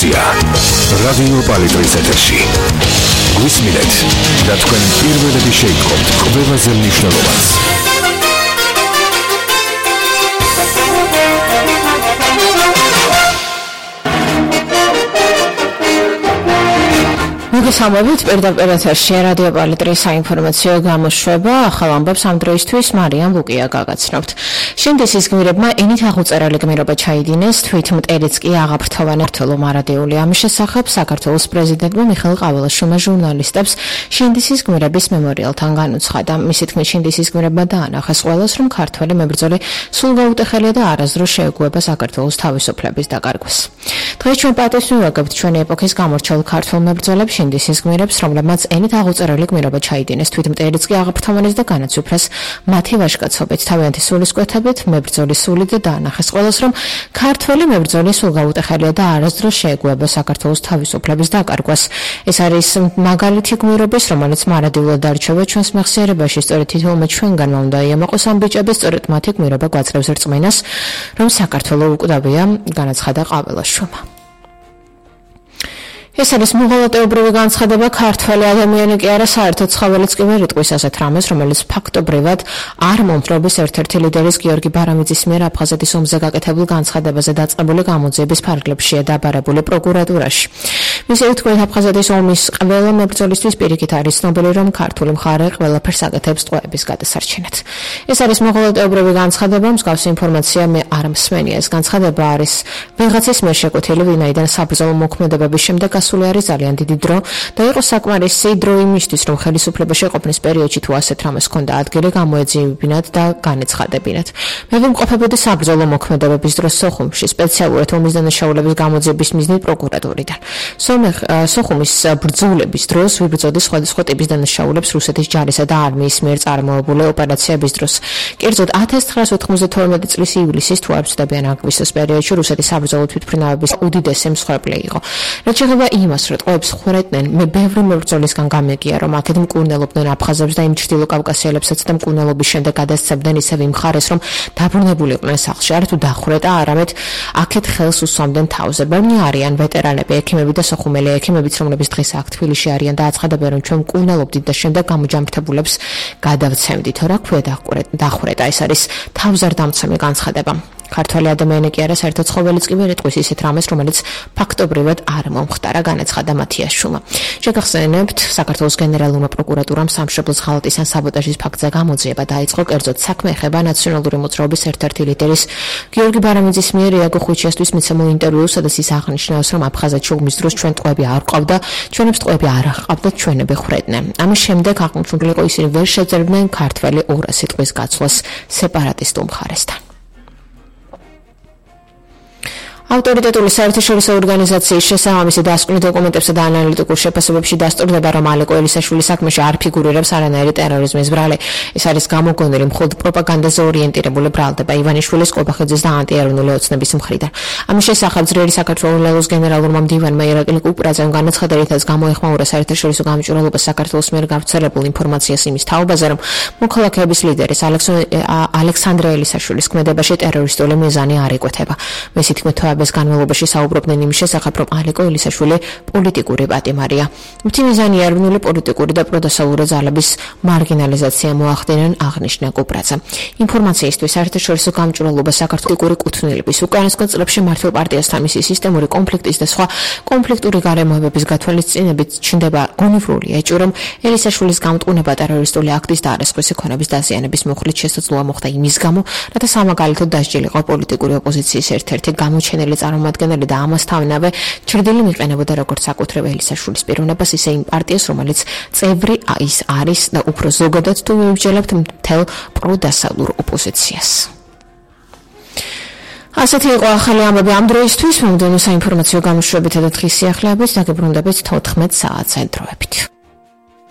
ინფორმაცია რადიო პალიტრის ეთერში. გვისმინეთ და თქვენ პირველები შეიტყობთ ყველაზე მნიშვნელოვანს. მოგესალმებით პირდაპირ ეთერში რადიო პალიტრის საინფორმაციო გამოშვება. ახალ ამბებს ამ დროისთვის მარიამ ლუკია გაგაცნობთ. შინდისის გმირებმა ენით აღუწერელი გმირობა ჩაიდინეს, თვით მტერიც კი აღაფრთოვანა რთულო მარადიული. ამის შესახებ საქართველოს პრეზიდენტმა მიხეილ ყაველაშვილმა ჟურნალისტებს შინდისის გმირების მემორიალთან განუცხადა. მისი თქმით, შინდისის გმირებმა დაანახეს ყველას, რომ ქართველი მებრძოლი სულ გაუტეხელია და არასდროს შეეგუება საქართველოს თავისუფლების დაკარგვას. დღეს ჩვენ პატივს მივაგებთ ჩვენი ეპოქის გამორჩეულ ქართველ მებრძოლებს შინდისის გმირებს, რომლებმაც ენით აღუწერელი გმირობა ჩაიდინეს, თვით მტერიც კი აღაფრთოვანეს და განაცვიფრეს მათი ვაჟკაცობით, თავიანთი სულისკვეთებით, მებრძოლის სულით და დაანახეს ყველას, რომ ქართველი მებრძოლი სულ გაუტეხელია და არასდროს შეეგუება საქართველოს თავისუფლების დაკარგვას. ეს არის მაგალითი გმირობის, რომელიც მარადიულად დარჩება ჩვენს მეხსიერებაში. სწორედ თითოეულმა ჩვენგანმა უნდა იამაყოს ამ ბიჭების, სწორედ მათი გმირობა გვაძლევს რწმენას, რომ საქართველო უკვდავია, განაცხადა ყაველაშვილმა. ეს არის მოღალატეობრივი განცხადება, ქართველი ადამიანი კი არა, საერთოდ ცხოველიც კი ვერ იტყვის ასეთ რამეს, რომელიც ფაქტობრივად არ მომხრობის ერთ-ერთი ლიდერის გიორგი ბარამიძის მიერ აფხაზეთის ომზე გაკეთებულ განცხადებაზე დაწყებული გამოძიების ფარგლებშია დაბარებული პროკურატურაში. მისი თქმით, აფხაზეთის ომის ყველა მებრძოლისთვის პირიქით არის ცნობილი, რომ ქართული მხარე ყველაფერს აკეთებს ტყვეების გადასარჩენად. ეს არის მოღალატეობრივი განცხადება, მსგავსი ინფორმაცია მე არ მსმენია. ეს განცხადება არის ვიღაცის მიერ შეკუთვნილი, ვინაიდან საბრძოლო მოქმედებების შემდეგ ასული არის ძალიან დიდი დრო და იყო საკმარისი დრო იმისთვის, რომ ხელისუფლებაში ყოფნის პერიოდში თუ ასეთ რამეს ჰქონდა ადგილი, გამოეძიებინათ და განეცხადებინათ. მე ვიმყოფებოდი საბრძოლო მოქმედებების დროს სოხუმში, სპეციალურად ომის დანაშაულების გამოძიების მიზნით პროკურატურიდან. სოხუმის ბრძოლების დროს ვიბრძოდი სხვადასხვა ტიპის დანაშაულებს რუსეთის ჯარისა და არმიის მიერ წარმოებული ოპერაციების დროს. კერძოდ 1992 წლის ივლისის თუ არ ვცდებიან აგვისტოს პერიოდში რუსეთის საბრძოლო თვითმფრინავების უდიდესი მსხვერპლი იყო. რაც შეეხება იმას, რომ ტყვეებს ხვრეტნენ, მე ბევრი მებრძოლისგან გამეგია, რომ აქეთ მკურნელობდნენ აფხაზებს და იმ ჩრდილო კავკასიელებსაც და მკურნელობის შემდეგ გადასცემდნენ ისევ იმ მხარეს, რომ დაბრუნებული იყვნენ სახლში, არა თუ დახვრეტა, არამედ აქეთ ხელს უსვამდნენ თავზე. ბევრი არიან ვეტერანები, ექიმები და სოხუმელი ექიმებიც, რომლებიც დღეს აქ თბილისში არიან და აცხადებენ, რომ ჩვენ მკურნელობდით და შემდეგ გამოჯამრთებულებს გადავცემდით. რა ქვია დახვრეტა, ეს არის თავზარდამცემი განცხადება. ქართველი ადამიანი კი არა, საერთოდ ცხოველიც კი ვერ იტყვის ისეთ რამეს, რომელიც ფაქტობრივად არ მომხდარა, განაცხადა მათიაშვილმა. შეგახსენებთ, საქართველოს გენერალურმა პროკურატურამ სამშობლოს ღალატის ან საბოტაჟის ფაქტზე გამოძიება დაიწყო, კერძოდ საქმე ეხება ნაციონალური მოძრაობის ერთ-ერთი ლიდერის გიორგი ბარამიძის მიერ იაგო ხუჩიასთვის მიცემულ ინტერვიუს, სადაც ის აღნიშნავს, რომ აფხაზეთში ომის დროს ჩვენ ტყვეები არ ყავდა, ჩვენებს ტყვეები არ აჰყავდათ, ჩვენები ხვრეტდნენ. ამის შემდეგ აღნიშნული იყო, ისინი ვერ შეძლებდნენ ქართველი 200 სიტყვის გაცვლას სეპარატისტულ მხარესთან. ავტორიტეტული საერთაშორისო ორგანიზაციის შესაბამისი დასკვნით დოკუმენტებსა და ანალიტიკურ შეფასებებში დასტურდება, რომ ალეკო ელისაშვილის საქმეში არ ფიგურირებს არანაირი ტერორიზმის ბრალი. ეს არის გამოგონილი მხოლოდ პროპაგანდაზე ორიენტირებული ბრალდება ივანიშვილის, კობახიძის და ანტიეროვნული ოცნების მხრიდან. ამის შესახებ ძლიერი საქართველოს გენერალურმა მდივანმა ირაკლი კუპრაძემ განაცხადა, რითაც გამოეხმაურა საერთაშორისო გამჭვირვალობა საქართველოს მიერ გავრცელებულ ინფორმაციას იმის თაობაზე, რომ მოქალაქეების ლიდერის ალექსანდრე ელისაშვილის ქმედებაში ტერორისტული მიზანი არ იკვეთება. მისი თქმით, განმავლობაში საუბრობდნენ იმის შესახებ, რომ ალეკო ელისაშვილი პოლიტიკური პატიმარია. მათი მიზანი ეროვნული პოლიტიკური და პროდასალური ძალების მარგინალიზაცია მოახდინნენ, აღნიშნა კუპრაძე. ინფორმაციისთვის საერთაშორისო გამჭვირვალობა საქართველოს კუთვნილების უკანასკნელ წლებში მართლ პარტიასთან მისი სისტემური კონფლიქტის და სხვა კონფლიქტური გარემოებების გათვალისწინებით ჩნდება გონივრული ეჭვი, რომ ელისაშვილის გამტყუნება ტერორისტული აქტის და არასხვისი ქონების დაზიანების მოხლით შესაძლოა მოხდა იმის გამო, რათა სამაგალითოდ დასჯილიყო პოლიტიკური ოპოზიციის ერთ-ერთი გამოჩენილი წარმომადგენელი და ამასთანავე ჩრდილი მიყენებოდა როგორც საკუთრივ ელისაშვილის პიროვნებას, ისე იმ პარტიას, რომელიც წევრი ის არის და უფრო ზოგადად თუ მივიჯელებთ მთელ პროდასალურ ოპოზიციას. ასეთი იყო ახალი ამბები ამ დროისთვის. მომდევნო საინფორმაციო გამოშვებითა და დღის სიახლეებით დაგებრუნდებით 14 საათზე დროებით.